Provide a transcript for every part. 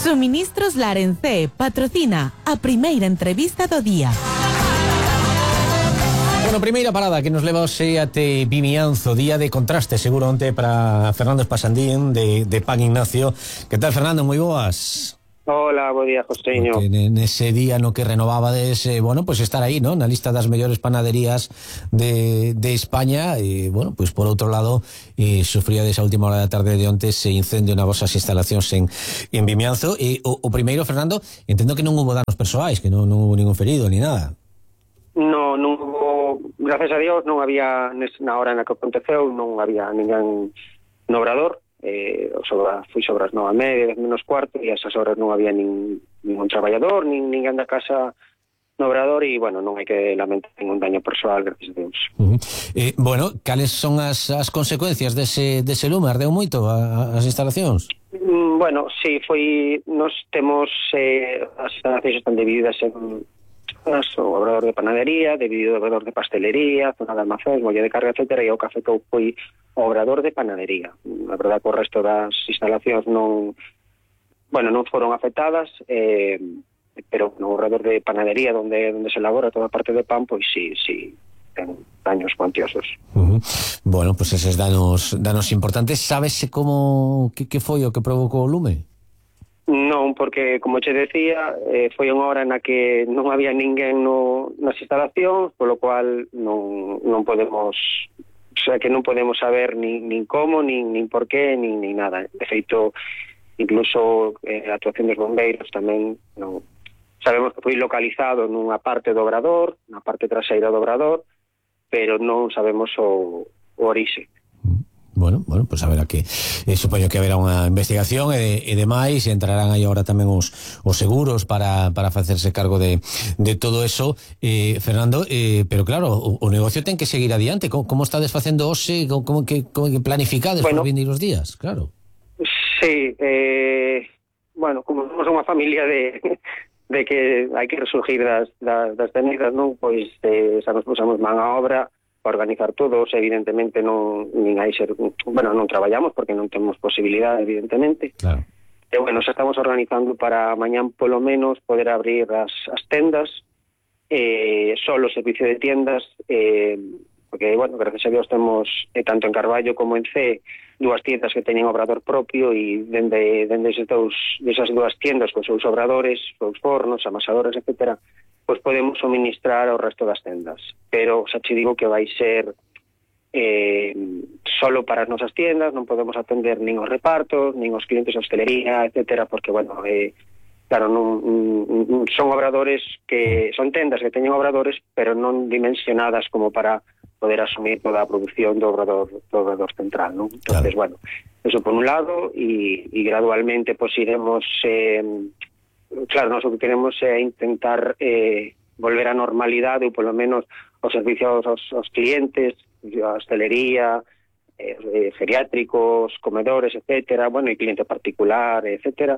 Suministros Larencé patrocina a primeira entrevista do día. Bueno, primeira parada que nos leva hoxe até Vimianzo, día de contraste seguro onte para Fernando Espasandín de Pan Ignacio. Que tal, Fernando? Moi boas. Hola, bo día, Joseño. Nese día no que renovabades, bueno, pues estar aí, ¿no? Na lista das mellores panaderías de España, e, bueno, pues por outro lado, sufríades a última hora da tarde de onte ese incendio na vosas instalacións en Vimianzo. E o primeiro, Fernando, entendo que non hubo danos persoais, que non hubo ningún ferido, ni nada. Non hubo, gracias a Dios, non había, na hora na que aconteceu, non había ninguén no obrador. Fui sobre as 9:30, 10:45, e a esas horas non había ningún traballador, ninguén da casa no obrador, e, bueno, non hai que lamentar ningún daño persoal, gracias a Deus. Bueno, cales son as consecuencias dese lume? Ardeu moito as instalacións? Bueno, sí, nos temos as instalacións están divididas en o obrador de panadería, dividido o obrador de pastelería, zona de almacén, molla de carga, etcétera, e o que afectou foi o obrador de panadería. A verdade que o resto das instalacións non foron afectadas, pero no obrador de panadería onde se elabora toda a parte de pan, pois sí ten daños cuantiosos. Bueno, pues eses danos importantes. Sábese que foi o que provocou o lume? Non, porque, como che decía, foi unha hora na que non había ninguén nas instalacións, polo cual non podemos, o sea, que non podemos saber nin como, nin por qué, nin nada. De feito, incluso a actuación dos bombeiros tamén non sabemos que foi localizado nunha parte do obrador, na parte traseira do obrador, pero non sabemos o orixe. Bueno, pues a ver aquí. Supoño que haberá unha investigación e demais, e entrarán aí agora tamén os seguros para facerse cargo de todo eso, Fernando, pero claro, o negocio ten que seguir adiante. Como estades facendo hoxe? Como que planificades por vindeiros días? Claro. Sí, como somos unha familia de que hai que resurgir das cenizas, non? Pois xa nos pusamos man a obra para organizar todos. Evidentemente non traballamos porque non temos posibilidade, evidentemente. Claro. E xa estamos organizando para mañán polo menos poder abrir as tendas, só o servicio de tiendas, porque, gracias a Dios temos, tanto en Carballo como en C, dúas tiendas que teñen obrador propio, e dende esas dúas tiendas, con seus obradores, seus fornos, amasadores, etcétera, pois podemos suministrar ao resto das tendas. Pero xa te digo que vai ser solo para as nosas tiendas, non podemos atender nin os repartos, nin os clientes de hostelería, etcétera, porque, claro, non son obradores que son tendas que teñen obradores, pero non dimensionadas como para poder asumir toda a produción do obrador central, non? Entonces, eso por un lado, e gradualmente pois iremos... Claro, nós o que queremos é intentar volver á normalidade, ou polo menos os servicios aos clientes, a hostelería, geriátricos, comedores, etcétera, e cliente particular, etcétera,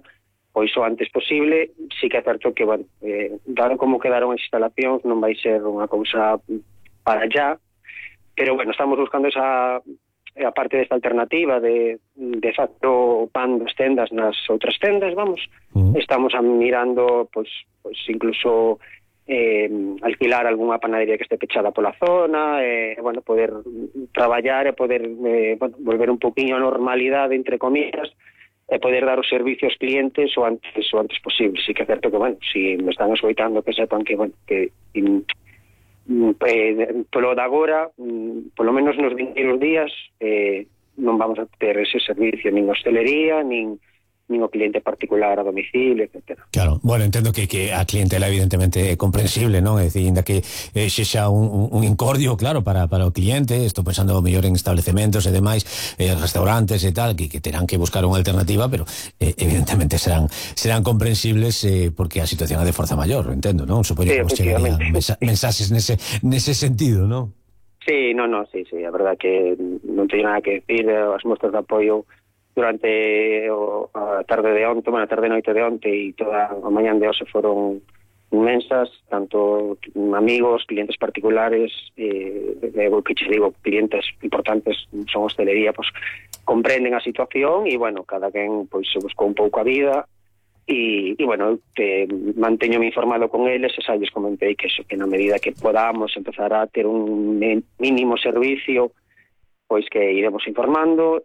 pois o antes posible. Sí que é certo que, dado como quedaron as instalacións, non vai ser unha cousa para allá, pero, estamos buscando esa... a parte desta alternativa de facto o pan das tendas nas outras tendas, estamos mirando, pois incluso alquilar algunha panadería que este pechada pola zona, poder traballar e poder volver un poquinho a normalidade, entre comillas, e poder dar o servicio aos clientes o antes posible. Sí que é certo que, si me están escoitando, que sepan que polo de agora, polo menos nos vindeiros días, non vamos a ter ese servicio nin hostelería, nin o cliente particular a domicilio, etcétera. Claro, entendo que a clientela evidentemente é comprensible, non? É dicir, ainda que sexa un incordio, claro, para o cliente. Estou pensando mellor en establecementos e demais, restaurantes e tal, que terán que buscar unha alternativa, pero evidentemente serán comprensibles, porque a situación é de forza maior, entendo, non? Supoño que vos chegarían mensaxes nese sentido, non? Sí, sí, a verdad que non teño nada que decir. As mostras de apoio durante a tarde de onte, a tarde e noite de onte e toda a mañán de hoxe foron inmensas, tanto amigos, clientes particulares, que che digo, clientes importantes, son hostelería, comprenden a situación e, cada quen se buscou un pouco a vida e bueno, manteñome informado con eles e xa lles comentei que eso, que na medida que podamos empezar a ter un mínimo servicio, pois que iremos informando,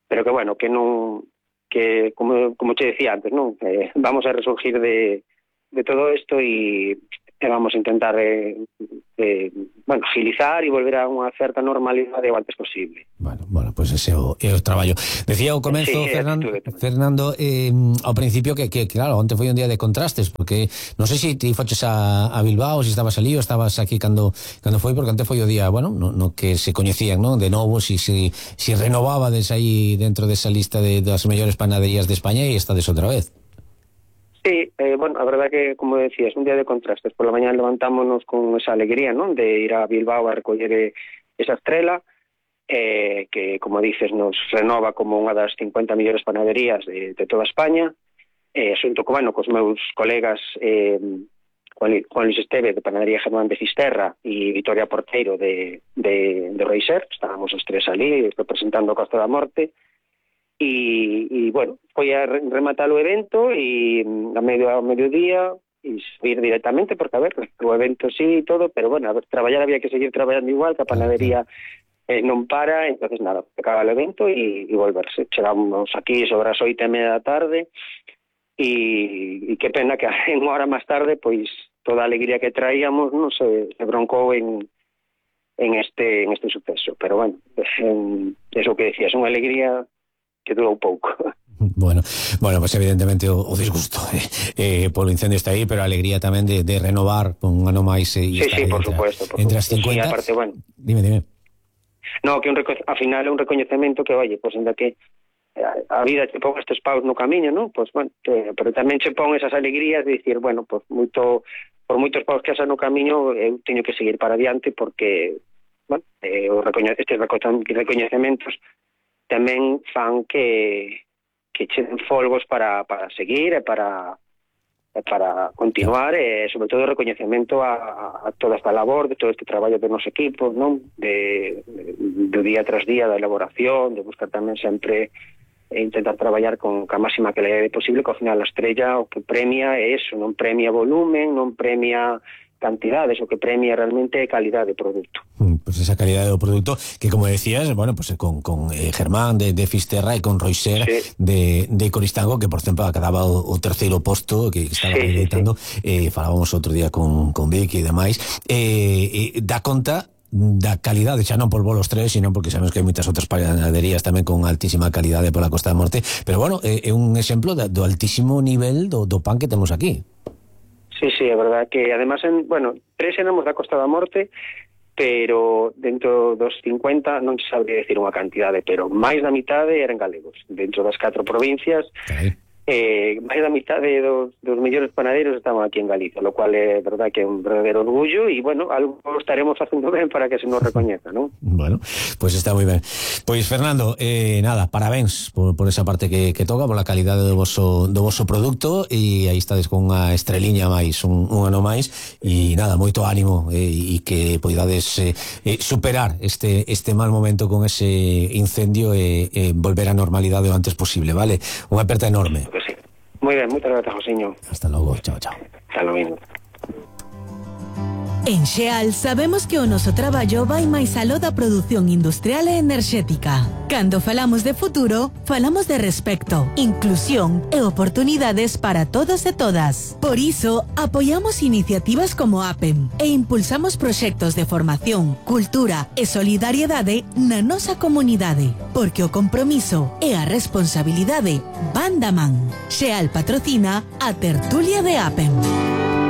pero que bueno, que non, que como te decía antes, non, vamos a resurgir de todo isto e vamos a intentar bueno, agilizar e volver a unha certa normalidade o antes posible. Bueno, pues ese é o traballo. Decía ao comenzo, sí, Fernando, ao principio que claro, onte foi un día de contrastes, porque non sei se ti foches a Bilbao, se estabas ali ou estabas aquí cando foi, porque onte foi o día, bueno, no que se coñecían, non, de novo, si renovabades aí dentro desa lista das mellores panaderías de España e estades outra vez. Sí, bueno, a verdad que, como decías, un día de contrastes. Por la mañana levantámonos con esa alegría, ¿no?, de ir a Bilbao a recoller esa estrela, que, como dices, nos renova como unha das 50 millores panaderías de toda España, xunto con, bueno, cos meus colegas Juan Luis Esteve, de Panadería Germán de Fisterra, e Victoria Porteiro de Reiser. Estábamos os tres ali representando a Costa da Morte. E bueno, foi a rematar o evento e a mediodía e subir directamente, porque a ver, o evento sí e todo, pero bueno, a ver, traballar había que seguir traballando igual, que a panadería non para, entonces nada, acaba o evento e volverse. Chegamos aquí sobre as 8:30 da tarde e que pena que unha hora máis tarde, pois toda a alegría que traíamos non se broncou en este suceso, pero bueno, eso que decías, unha alegría que durou pouco. Bueno, pues evidentemente o disgusto polo incendio está aí, pero a alegría tamén de renovar con un ano máis sí, por supuesto. Entre as 50. Sí, aparte, bueno. Dime. No, que a final é un recoñecemento que, oye, pues ainda que a vida te pon estes paus no camiño, ¿no? Pues bueno, pero tamén se pon esas alegrías de dicir, bueno, pues por moitos paus que asa no camiño, eu teño que seguir para adiante porque, bueno, estes recoñecementos tamén fan que cheten folgos para seguir e para continuar, e sobre todo o recoñecemento a toda esta labor, de todo este traballo dos nosos equipos, non? Do día tras día da elaboración, de buscar tamén sempre intentar traballar con a máxima calidade posible, que ao final a estrella o que premia é eso, non premia volumen, non premia cantidades, o que premia realmente calidad de produto. Pues esa calidad de producto que, como decías, bueno, pues con Germán de Fisterra e con Roiser de Coristango, que por exemplo acababa o terceiro posto que estaba editando, falábamos outro día con Vicky e demais, dá conta da calidade, xa non por volos tres, sino porque sabemos que hai moitas outras panaderías tamén con altísima calidade pola Costa da Morte, pero bueno, é un exemplo do altísimo nivel do pan que temos aquí. Sí, é verdad que además, bueno, tres éramos da Costa da Morte, pero dentro dos 50 non se sabría decir unha cantidade, pero máis da mitade eran galegos. Dentro das 4 provincias, máis da mitade dos mellores panaderos estaban aquí en Galicia, lo cual é verdad que é un verdadeiro orgullo e, bueno, algo estaremos facendo ben para que se nos recoñeza, non? Bueno, pues está moi ben. Pois, Fernando, nada, parabéns por esa parte que toca, por la calidade do voso produto, e aí estades con unha estreliña máis, un ano máis, e nada, moito ánimo, e que poidades superar este mal momento con ese incendio e volver á normalidade o antes posible, vale? Unha aperta enorme. Sí. Muy bien, muchas gracias, Josiño. Hasta logo, chao. Hasta luego. En Xeal sabemos que o noso traballo vai máis aló da produción industrial e enerxética. Cando falamos de futuro, falamos de respecto, inclusión e oportunidades para todos e todas. Por iso, apoiamos iniciativas como APEM e impulsamos proxectos de formación, cultura e solidariedade na nosa comunidade, porque o compromiso e a responsabilidade van da man. Xeal patrocina a tertulia de APEM.